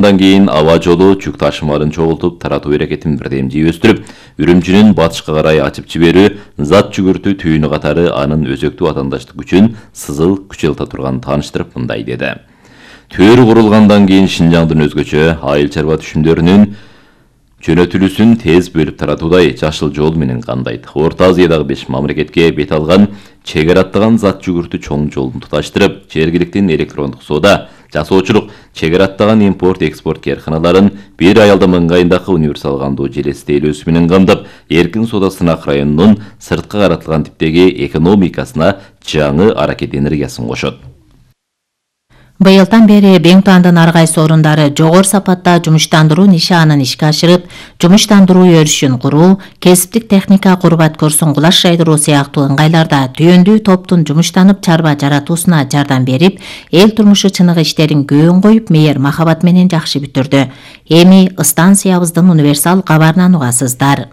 Андан кийин аба жолу жүк ташымаларын чогултуп таратуу аракетин бирдем жийөстүрүп, Үрүмчүнүн батышка карай ачып жиберүү зат жүгүртүү түйүнү катары анын өзөктүү атаандаштык күчүн сызыл күчөлтө турганын тааныштырып мындай деди. Төр курулгандан кийин Шинжаңдын өзгөчө айыл чарба түшүмдөрүнүн жөнөтүлүүсүн тез бөлүп таратуудай жашыл жол менен кандайт. Орто Азиядагы 5 мамлекетке бет алган чек аттаган зат жүгүртүү чоң жолун туташтырып, жергиликтин электрондук соода, жасоочулук, чек аттаган импорт-экспорт карканаларын бир аялдам ыңгайындагы универсал кандуу желеси тейлөөсү менен камдап, эркин соода сынак районунун сырткы каратылган типтеги экономикасына жаңы аракет энергиясын кошот. Быйылдан бери Беңтуандын ар кайсы орундары жогору сапатта жумуштандыруу нишанын ишке ашырып, жумуштандыруу өрүшүн куруу, кесиптик техника курбат курсун кулаш жайдыруу сыяктуу ыңгайларда түйөндүү топтун жумуштанып чарба жаратуусуна жардам берип, эл турмушу чыныгы иштерин көөн коюп, мейер махабат менен жакшы бүтүрдү. Эми станциябыздын универсал кабарынан угасыздар.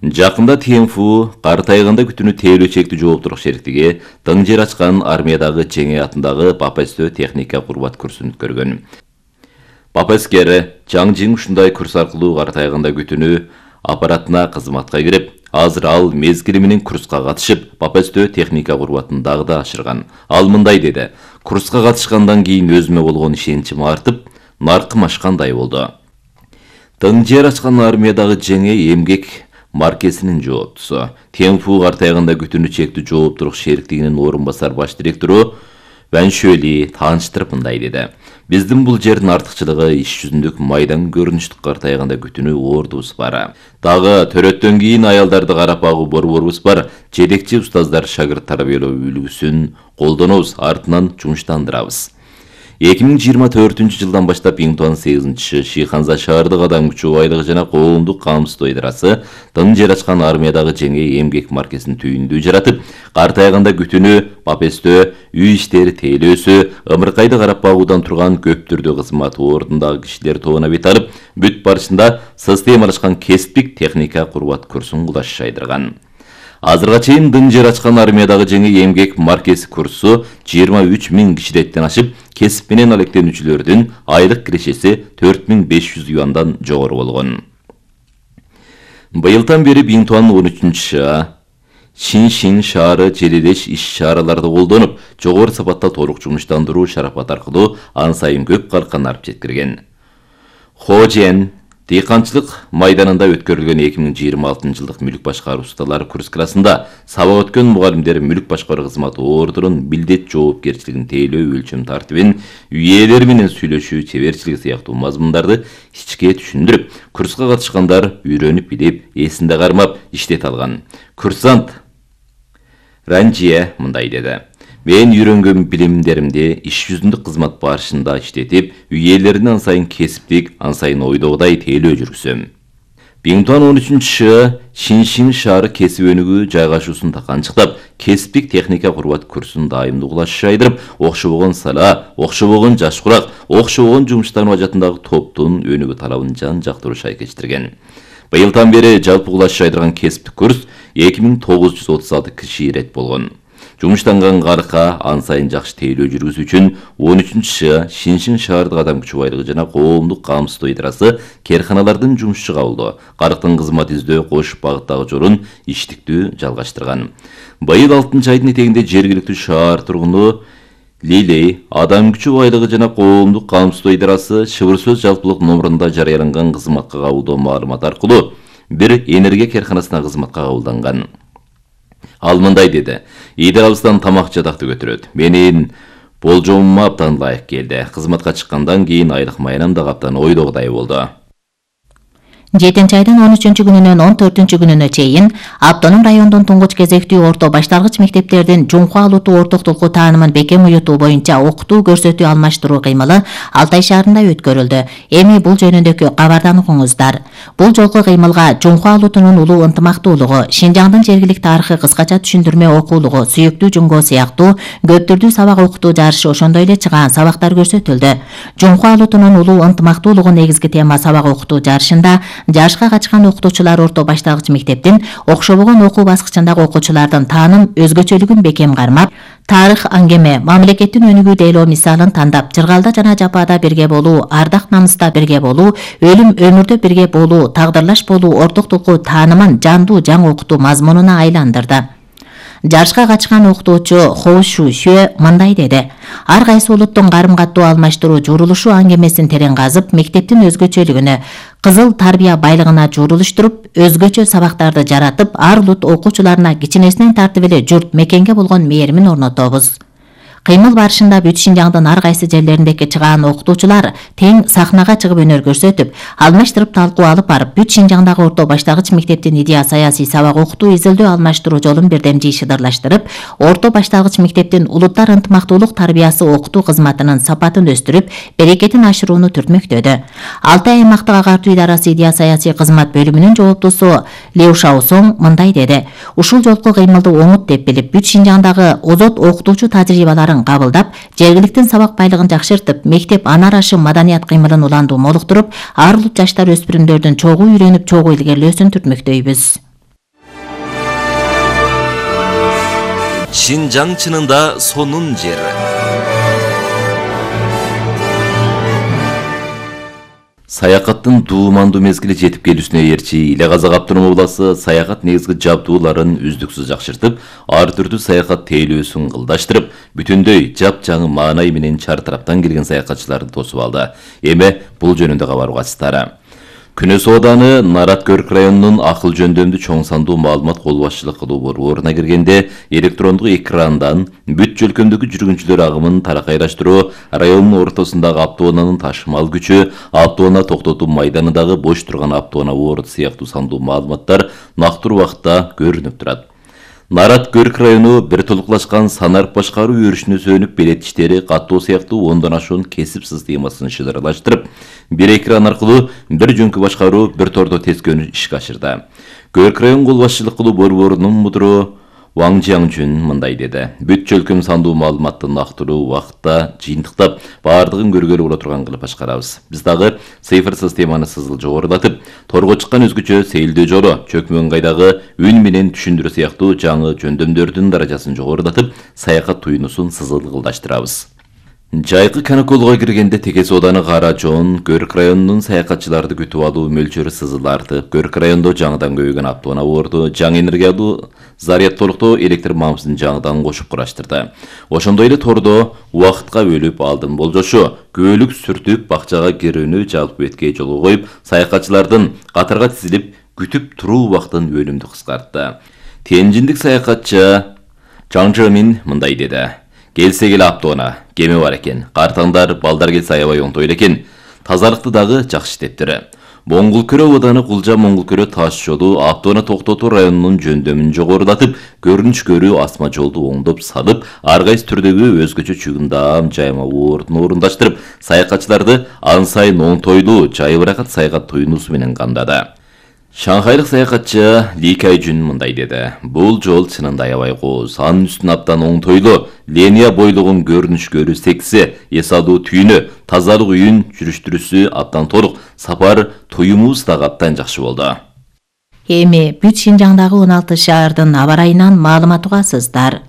Жакында ТМФУ кар тайганда күтүүнү тейлөө чектүү жооптурук шериктиги тың жер ачкан армиядагы Жеңе атындагы Папестө техника курбат курсун өткөргөн. Папескер Жаңжиң ушундай курс аркылуу кар тайганда күтүүнү аппаратына кызматка кирип, азыр ал мезгили менен курска катышып, Папестө техника курбатын дагы да ашырган. Ал мындай деди: "Курска катышкандан кийин өзүмө болгон ишеничим артып, наркым ашкандай болду. Тың жер ачкан армиядагы Жеңе эмгек маркесинин жооптусу. ТМФУ кар тайганда күтүүнү чектүү жооптурук шериктигинин орун басар баш директору Ваншөли тааныштырып мындай деди: "Биздин бул жердин артыкчылыгы иш жүзүндөгү майдан көрүнүштүк кар тайганда күтүүнү ордубуз бар. Дагы төрөттөн кийин аялдарды карап багуу борборубуз бар. Жетекчи устаздар шагырт тарбиялоо үлгүсүн колдонобуз, артынан жумуштандырабыз." 2024 жылдан баштап Беңтуан 8 Шиханза шаардык адам күчү байлыгы жана коомдук камсыздоо ыдырасы тың жер ачкан армиядагы Жеңе эмгек маркесин түйүндүү жаратып, кар тайганда күтүүнү Папестө үй иштери тейлөөсү, ымыркайды карап багуудан турган көп түрдүү кызмат ордундагы кишилер тобуна бет алып, бүт барышында системалашкан кесиптик техника курбат курсун кулаш жайдырган. Азырга чейин тың жер ачкан армиядагы Жеңе эмгек маркеси курсу 23 000 кишилеттен ашып, кесип менен алектенүүчүлөрдүн айлык кирешеси 4500 юандан жогору болгон. Быйылдан бери Беңтуандын 13 Шиншин шаары желелеш иш-чараларды колдонуп, жогору сапатта толук жумуштандыруу шарапат аркылуу ан сайын көп каркын алып жеткирген. Хожен дыйканчылык майданында өткөрүлгөн 2026 жылдык мүлк башкаруу ustalar курскасында сабак өткөн мугалимдер мүлк башкаруу кызматы ордунун милдет жоопкерчилигин тейлөө өлчөм тартибин, үй ээлери менен сүйлөшүү чеберчилиги сыяктуу мазмундарды ичке түшүндүрүп, курска катышкандар үйрөнүп билип, эсинде кармап иштете алган. Курсант Ранжия мындай деди: "Мен үйрөнгөн билимдеримди иш жүзүндө кызмат барышында иштетип, үй ээлерин ан сайын кесиптик, ан сайын ойдогудай тейлөө жүргүзөм." Беңтуан 13 Шиншин шаары кесип өнүгүү жайгашуусун таканчыктап, кесиптик техника курбат курсун дайымдуу кулаш жайдырып, окшобогон сала, окшобогон жаш курак, окшобогон жумуштануу ажатындагы топтун өнүгүү талабын жан-жактуу шайкештирген. Быйылдан бери жалпы кулаш жайдырган кесиптик курс 2936 киши ирет болгон. Жумуштанган карка ан сайын жакшы тейлөө жүргүзүү үчүн 13 Шиншин шаардык адам күчү байлыгы жана коомдук камсыздоо ыдырасы керканалардын жумушчу кабылдоо, карктын кызмат издөө кош багыттагы жолун иштиктүү жалгаштырган. Быйыл 6 айдын этегинде жергиликтүү шаар тургуну Лилей адам күчү байлыгы жана коомдук камсыздоо ыдырасы шыбыр сөз жалпылык номурунда жарыяланган кызматка кабылдоо маалымат аркылуу бир энергия керканасына кызматка кабылданган. Ал мындай деди: "Идеалыбыздан тамак жадакты көтөрөт. Менин болжомума абдан ылайык келди. Кызматка чыккандан кийин айлык майнам да абдан ойдогудай болду." 7 айдын 13 күнүнөн 14 күнүнө чейин Автоном райондун туңгуч кезектүү орто башталгыч мектептердин жумка алуутуу ортоктулуку таанымын бекем уютуу боюнча окутуу көрсөтүү алмаштыруу кыймылы Алтай шаарында өткөрүлдү. Эми бул жөнүндөгү кабардан окуңуздар. Бул жолку кыймылга жумка алуутунун улуу ынтымактуулугу, Шинжаңдын жергилик тарыхы кыскача түшүндүрмө окуулугу, сүйүктүү жумго сыяктуу көп түрдүү сабак окутуу жарышы, ошондой эле чыгаан сабактар көрсөтүлдү. Жумка алуутунун улуу ынтымактуулугу негизги тема сабак окутуу жарышында жашка качкан окутуучулар орто башталгыч мектептин окшобогон окуу баскычындагы окуучулардын тааным өзгөчөлүгүн бекем кармап, Тарых аңгеме мамлекеттин өнүгүү дейлөө мисалын тандап, жыргалда жана жапаада бирге болуу, ардак намыста бирге болуу, өлүм өмүрдө бирге болуу, тагдырлаш болуу ортоктугу таанымын жандуу жаңы окутуу мазмунуна айландырды. Жарышка катышкан окутуучу Хо Шу Xue мындай деди: ар кайсы улуттун карым-каттуу алмаштыруу журулушу аңгемесин терең казып, мектептин өзгөчөлүгүнө, кызыл тарбия байлыгына журулуштуруп, өзгөчө сабактарды жаратып, ар улут окуучуларына кичинесинен тартып эле журт мекенге болгон мээримин орнотобуз. Кыймыл барышында бүт Шинжаңдын ар кайсы жерлериндеги чыгаан окутуучулар тең сахнага чыгып өнөр көрсөтүп, алмаштырып талкуу алып барып, бүт Шинжаңдагы орто баштагыч мектептин идея саясий сабак окутуу изилдөө алмаштыруу жолун бирдемжий шыдырлаштырып, орто баштагыч мектептин улуттар ынтымактуулук тарбиясы окутуу кызматынын сапатын өстүрүп, берекетин ашырууну түртмөктөдү. Алтай аймактык агартуу идарасы идея саясий кызмат бөлүмүнүн жоопчусу Леу Шаосоң мындай деди: ушул жолку кыймылды оңут деп билип, бүт Шинжаңдагы озот окутуучу тажрыйбаларын кабылдап, жергиликтин сабак байлыгын жакшыртып, мектеп ана арашы маданият кыймылын уландуу молуктуруп, ар улут жаштар өспүрүмдөрдүн чогуу үйрөнүп, чогуу илгерлөөсүн түртмөктөйбүз. Шинжаң чынында сонун жер. Саякаттын дуумандуу мезгили жетип келүүсүнө ээрчи Иле Казак автономдук областы саякат негизги жабдууларын үздүксүз жакшыртып, ар түрдүү саякат тейлөөсүн ылдаштырып, бүтүндөй жапжаңы маанай менен чар тараптан келген саякатчыларды тосуп алды. Эми бул жөнүндө кабарга ачтары. Күнөс ооданы Нарат Көрк районунун акыл жөндөмдүү чоң сандуу маалымат кол башчылык кылуу борборуна киргенде электрондук экрандан бүт жөлкөмдөгү жүргүнчүлөр агымын таракайраштыруу, райондун ортосундагы автоунаанын ташымал күчү, автоунаа токтотуу майданындагы бош турган автоунаа орду сыяктуу сандуу маалыматтар нактуу убакытта көрүнүп турат. Нарат Көрк району бир толуклашкан санарып башкаруу өрүшүнө сөнүп, белет иштери, каттоо сыяктуу ондон ашуун кесип системасын шыдырлаштырып, бир экран аркылуу бир жөнкү башкаруу, бир тордо тескөөнү ишке ашырды. Көрк район кол башчылык кылуу борборунун мудуру Ваң Жиаңжүн мындай деди: бүт жөлкөм сандуу маалыматты нактуу убакытта жыйынтыктап, баардыгын көргөлү боло турган кылып башкарабыз. Биз дагы цифр системаны сызыл жогорулатып, торго чыккан өзгөчө сейилдөө жолу, чөкмө ыңгайдагы үн менен түшүндүрүү сыяктуу жаңы жөндөмдөрдүн даражасын жогорулатып, саякат туюнусун сызыл кылдаштырабыз. Жайкы каникулга киргенде Текес ооданы Кара Жоон Көрк районунун саякатчыларды күтүп алуу мөлчөрү сызыл артып, Көрк райондо жаңыдан көбөйгөн автоунаа орду жаңы энергиялуу зарядтолуктоо электр мамысын жаңыдан кошуп кураштырды. Ошондой эле тордо убакытка бөлүп алдын болжошу, көөлүк сүртүп, бакчага кирүүнү жалпы бетке жолго коюп, саякатчылардын катарга тизилип күтүп туруу убактын өнүмдү кыскартты. Тенжиндик саякатчы Чаң Жэмин мындай деди: келсе келе автоунаа, кеме бар экен, картаңдар, балдар келсе аябай оңтой экен, тазалыкты дагы жакшы иштептир. Моңгулкөрө ооданы Кулжа Моңгулкөрө таш жолу автоунаа токтотуу районунун жөндөмүн жогорулатып, көрүнүш көрүү асма жолду оңдоп салып, ар кайсы түрдөгү өзгөчө чыгымдам жаймалуу ордун орундаштырып, саякатчыларды ан сайын оңтойлуу, жайбыракат саякат туюнуусу менен камдады. Шанхайлык саякатчы Ли Кайжүн мындай деди: бул жол чынында аябай кооз, анын үстүн абдан оңтойлуу, линия бойлугун көрүнүш көрүү секси, эс алуу түйүнү, тазалык үйүн жүрүштүрүүсү абдан толук, сапар туюмубуз дагы абдан жакшы болду. Эми бүт Шинжаңдагы 16 шаардын аба ырайынан маалымат угасыздар.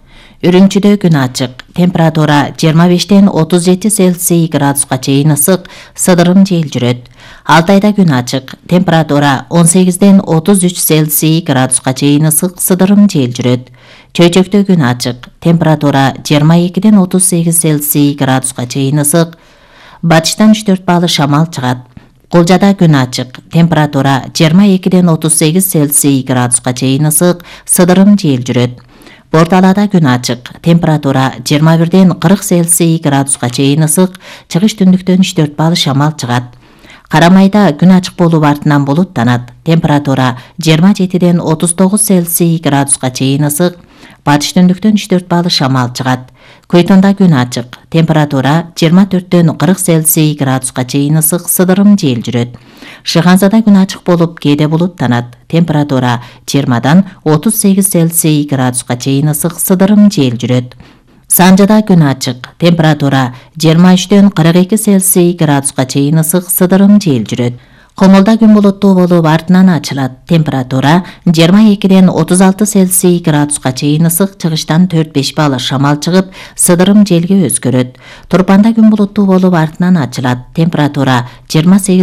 Үрүмчүдө күн ачык, температура 25-тен 37 Цельсий градуска чейин ысык, сыдырым жел жүрөт. Алтайда күн ачык, температура 18-ден 33 Цельсий градуска чейин ысык, сыдырым жел жүрөт. Чөйчөктө күн ачык, температура 22-ден 38 Цельсий градуска чейин ысык, батыштан 3-4 баалы шамал чыгат. Кулжада күн ачык, температура 22-ден 38 Цельсий градуска чейин ысык, сыдырым жел жүрөт. Борталада күн ачык, температура 21-ден 40 Цельсий градуска чейин ысык, чыгыш түндүктөн 3-4 баалы шамал чыгат. Карамайда күн ачык болуп артынан булуттанат, температура 27-ден 39 Цельсий градуска чейин ысык, батыш түндүктөн 3-4 баалы шамал чыгат. Көйтонда күн ачык, температура 24-ден 40 Цельсий градуска чейин ысык, сыдырым жел жүрөт. Шыгансада күн ачык болуп, кээде булуттанат, температура 20-дан 38 Цельсий градуска чейин ысык, сыдырым жел жүрөт. Санжада күн ачык, температура 23-ден 42 Цельсий градуска чейин ысык, сыдырым жел жүрөт. Комолда күн булуттуу болуп артынан ачылат. Температура 22-ден 36 Цельсий градуска чейин ысык, чыгыштан 4-5 балл шамал чыгып, сыдырым желге өзгөрөт. Турпанда күн булуттуу болуп артынан ачылат. Температура 28